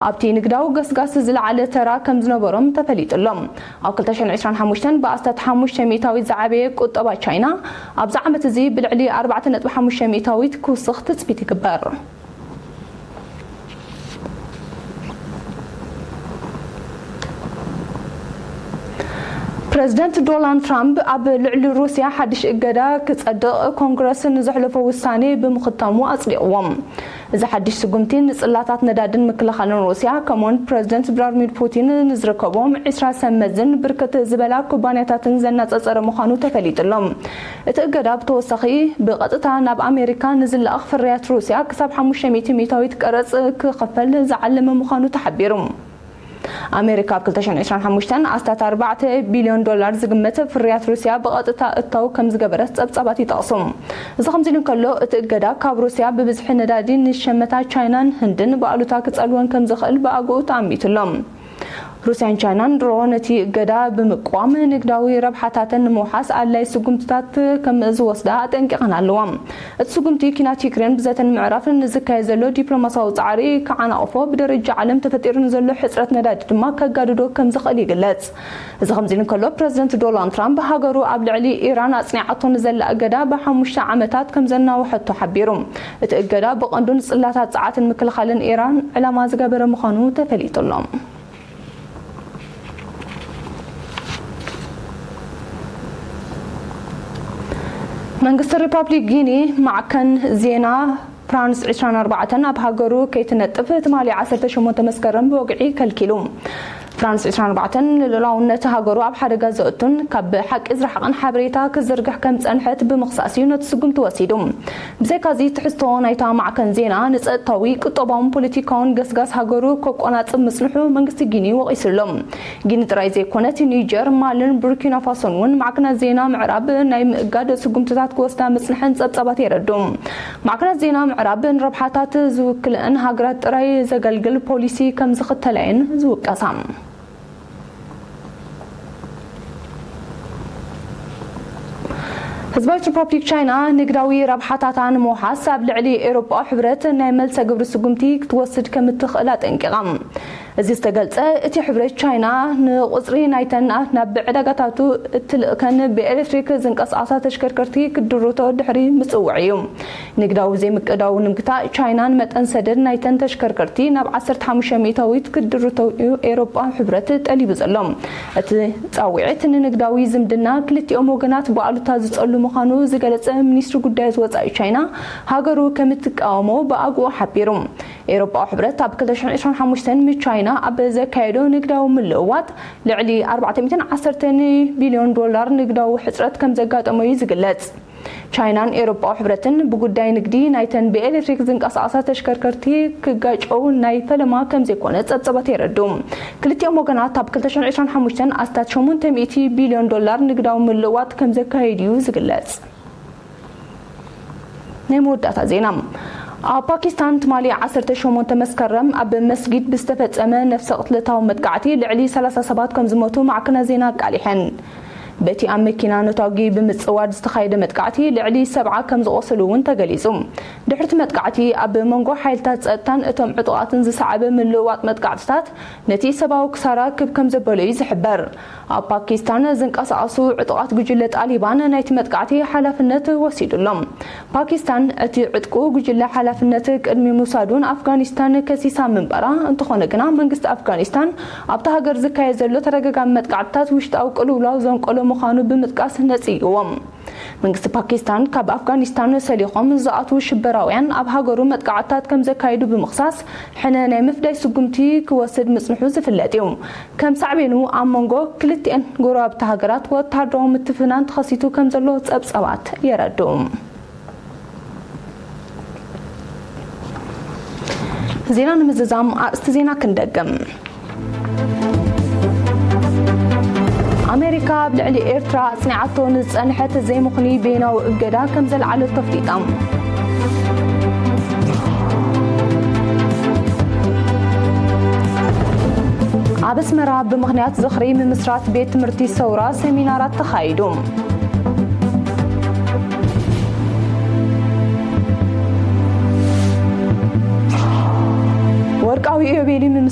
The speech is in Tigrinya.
ኣብቲ ንግዳዊ ገስጋስ ዝለዓለ ተራ ከም ዝነበሮም ተፈሊጡ ኣሎ። ኣብ ክልተ ሽሕን ዕስራን ሓሙሽተን ብኣስታት ሓሙሽተ ሚእታዊት ዝዓበየ ቁጠባ ቻይና፣ ኣብዚ ዓመት እዚ ብልዕሊ ኣርባዕተ ነጥቢ ሓሙሽተ ሚእታዊት ክውስኽ ትጽቢት ይግበር። ፕረዚደንት ዶናልድ ትራምፕ ኣብ ልዕሊ ሩስያ ሓድሽ እገዳ ክጸድቕ ኮንግረስ ንዘሕለፎ ውሳኔ ብምኽታሙ ኣጽዲቕዎ። እዚ ሓድሽ ስጉምቲ ንጽላታት ነዳድን ምክልኻልን ሩስያ፣ ከምኡውን ፕረዚደንት ቭላድሚር ፑቲን ንዝርከቦም ዕስራ ሰብ መዝን ብርክት ዝበላ ኩባንያታትን ዘነጻጸረ ምዃኑ ተፈሊጡ ኣሎ። እቲ እገዳ ብተወሳኺ ብቐጥታ ናብ ኣሜሪካ ንዝለኣኽ ፍርያት ሩስያ ክሳብ ሓሙሽተ ሚእቲ ሚእታዊት ቀረጽ ክኸፈል ዝዓለመ ምዃኑ ተሓቢሩ። ኣሜሪካ ኣብ ክልተ ሽሕን ዕስራን ሓሙሽተን ኣስታት ኣርባዕተ ቢልዮን ዶላር ዝግመት ፍርያት ሩስያ ብቐጥታ እታው ከም ዝገበረት ጸብጻባት ይጠቕሱ። እዚ ከምዚ ኢሉ እንከሎ፣ እቲ እገዳ ካብ ሩስያ ብብዝሒ ነዳዲ ንሸመታ ቻይናን ህንድን ብኣሉታ ክጸልወን ከም ዝኽእል ብኣግኡ ተኣሚቱ ኣሎ። ሩስያን ቻይናን ድሮ ነቲ እገዳ ብምቅዋም ንግዳዊ ረብሓታተን ንምውሓስ ኣድላይ ስጉምትታት ከም ዝወስዳ ኣጠንቂቐን ኣለዋ። እቲ ስጉምቲ ኲናት ዩክሬን ብዘተ ንምዕራፍ ንዝካየድ ዘሎ ዲፕሎማሲያዊ ጻዕሪ ክዓናቕፎ፣ ብደረጃ ዓለም ተፈጢሩ ንዘሎ ሕጽረት ነዳዲ ድማ ከጋድዶ ከም ዝኽእል ይግለጽ። እዚ ከምዚ ኢሉ እንከሎ፣ ፕረዚደንት ዶናልድ ትራምፕ ሃገሩ ኣብ ልዕሊ ኢራን ኣጽኒዓቶ ንዘላ እገዳ ብሓሙሽተ ዓመታት ከም ዘናውሐቶ ሓቢሩ። እቲ እገዳ ብቐንዱ ንጽላታት ጸዓትን ምክልኻልን ኢራን ዕላማ ዝገበረ ምዃኑ ተፈሊጡ ኣሎ። መንግስቲ ሪፓብሊክ ጊኒ ማዕከን ዜና ፍራንስ ዕስራን ኣርባዕተን ኣብ ሃገሩ ከይትነጥፍ ትማሊ ዓሰርተ ሸሞንተ መስከረም ብወግዒ ከልኪሉ። ፍራንስ ዕስራን ኣርባዕተን ንልኡላውነት ሃገሩ ኣብ ሓደጋ ዘእቱን ካብ ሓቂ ዝረሓቐን ሓበሬታ ክዝርግሕ ከም ጸንሐት ብምኽሳስ እዩ ነቲ ስጉምቲ ወሲዱ። ብዘይካዚ፣ ትሕዝቶ ናይታ ማዕከን ዜና ንጸጥታዊ፣ ቁጠባውን ፖለቲካውን ገስጋስ ሃገሩ ከቆናጽብ ምጽንሑ መንግስቲ ጊኒ ወቒሱ ኣሎ። ጊኒ ጥራይ ዘይኮነት፣ ኒጀር፣ ማልን ቡርኪና ፋሶን እውን ማዕከናት ዜና ምዕራብ ናይ ምእጋድ ስጉምትታት ክወስዳ ምጽንሐን ጸብጻባት የረድኡ። ማዕከናት ዜና ምዕራብ ንረብሓታት ዝውክልአን ሃገራት ጥራይ ዘገልግል ፖሊሲ ከም ዝኽተላ እየን ዝውቀሳ። ህዝባዊት ሪፓብሊክ ቻይና ንግዳዊ ረብሓታታ ንምውሓስ ኣብ ልዕሊ ኤውሮጳዊ ሕብረት ናይ መልሰ ግብሪ ስጉምቲ ክትወስድ ከም እትኽእል ኣጠንቂቓ። እዚ ዝተገልጸ፣ እቲ ሕብረት ቻይና ንቁጽሪ ናይተን ናብ ዕዳጋታቱ እትልእከን ብኤሌክትሪክ ዝንቀሳቐሳ ተሽከርከርቲ ክድርቶ ድሕሪ ምጽውዕ እዩ። ንግዳዊ ዘይምቅዳው ንምግታእ፣ ቻይና ንመጠን ሰደድ ናይተን ተሽከርከርቲ ናብ ዓሰርተ ሓሙሽተ ሚእታዊት ክድርቶ እዩ ኤውሮጳ ሕብረት ጠሊቡ ዘሎ። እቲ ጻውዒት ንንግዳዊ ዝምድና ክልቲኦም ወገናት ብኣሉታ ዝጸሉ ምዃኑ ዝገለጸ ሚኒስትሪ ጉዳያት ወጻኢ ቻይና፣ ሃገሩ ከም እትቃወሞ ብኣግኡ ሓቢሩ። ኤውሮጳዊ ሕብረት ኣብ ክልተ ሽሕን ዕስራን ሓሙሽተን ምስ ቻይና ኣብ ዘካየዶ ንግዳዊ ምልውዋጥ፣ ልዕሊ ኣርባዕተ ሚእትን ዓሰርተን ቢልዮን ዶላር ንግዳዊ ሕጽረት ከም ዘጋጠሞ እዩ ዝግለጽ። ቻይናን ኤውሮጳዊ ሕብረትን ብጉዳይ ንግዲ ናይተን ብኤሌክትሪክ ዝንቀሳቐሳ ተሽከርከርቲ ክጋጨው ናይ ፈለማ ከም ዘይኮነ ጸብጸባት የረድኡ። ክልቲኦም ወገናት ኣብ ክልተ ሽሕን ዕስራን ሓሙሽተን ኣስታት ሸሞንተ ሚእቲ ቢልዮን ዶላር ንግዳዊ ምልውዋጥ ከም ዘካየዱ እዩ ዝግለጽ። ናይ መወዳእታ ዜና። ኣብ ፓኪስታን ትማሊ ዓሰርተ ሸሞንተ መስከረም ኣብ መስጊድ ብዝተፈጸመ ነፍሰ ቅትለታዊ መጥቃዕቲ ልዕሊ ሰላሳ ሰባት ከም ዝሞቱ ማዕከናት ዜና ኣቃሊሐን። በቲ ኣብ መኪና ነታጒ ብምጽዋድ ዝተኻየደ መጥቃዕቲ ልዕሊ ሰብዓ ከም ዝቖሰሉ እውን ተገሊጹ። ድሕርቲ መጥቃዕቲ ኣብ መንጎ ሓይልታት ጸጥታን እቶም ዕጡቓትን ዝሰዓበ ምልውዋጥ መጥቃዕትታት ነቲ ሰብኣዊ ክሳራ ክብ ከም ዘበሎ እዩ ዝሕበር። ኣብ ፓኪስታን ዝንቀሳቐሱ ዕጡቓት ጉጅለ ጣሊባን ናይቲ መጥቃዕቲ ሓላፍነት ወሲዱሎም። ፓኪስታን እቲ ዕጥቁ ጉጅለ ሓላፍነት ቅድሚ ምውሳዱን ኣፍጋኒስታን ከሲሳ ምንባራ፣ እንተኾነ ግና መንግስቲ ኣፍጋኒስታን ኣብታ ሃገር ዝካየድ ዘሎ ተደጋጋሚ መጥቃዕትታት ውሽጣዊ ቅልውላው ዘንቀሎ ምዃኑ ብምጥቃስ ነጽይዎም። መንግስቲ ፓኪስታን ካብ ኣፍጋኒስታን ሰሊኾም ዝኣትዉ ሽበራውያን ኣብ ሃገሩ መጥቃዕትታት ከም ዘካይዱ ብምኽሳስ፣ ሕነ ናይ ምፍዳይ ስጉምቲ ክወስድ ምጽንሑ ዝፍለጥ እዩ። ከም ሳዕቤኑ ኣብ መንጎ ክልቲኤን ጎረባብቲ ሃገራት ወተሃደራዊ ምትፍናን ተኸሲቱ ከም ዘሎ ጸብጻባት የረድኡ። ዜና ንምዝዛም ኣርእስቲ ዜና ክንደግም። ኣሜሪካ ኣብ ልዕሊ ኤርትራ ኣጽኒዓቶ ንዝጸንሐት ዘይምኽኑይ በይናዊ እገዳ ከም ዘልዓለቶ ኣፍሊጣ። ኣብ ኣስመራ ብምኽንያት ዝኽሪ ምምስራት ቤት ትምህርቲ ሰውራ ሰሚናራት ተኻይዱ። ወርቃዊ ኢዮቤልዩ ምምስ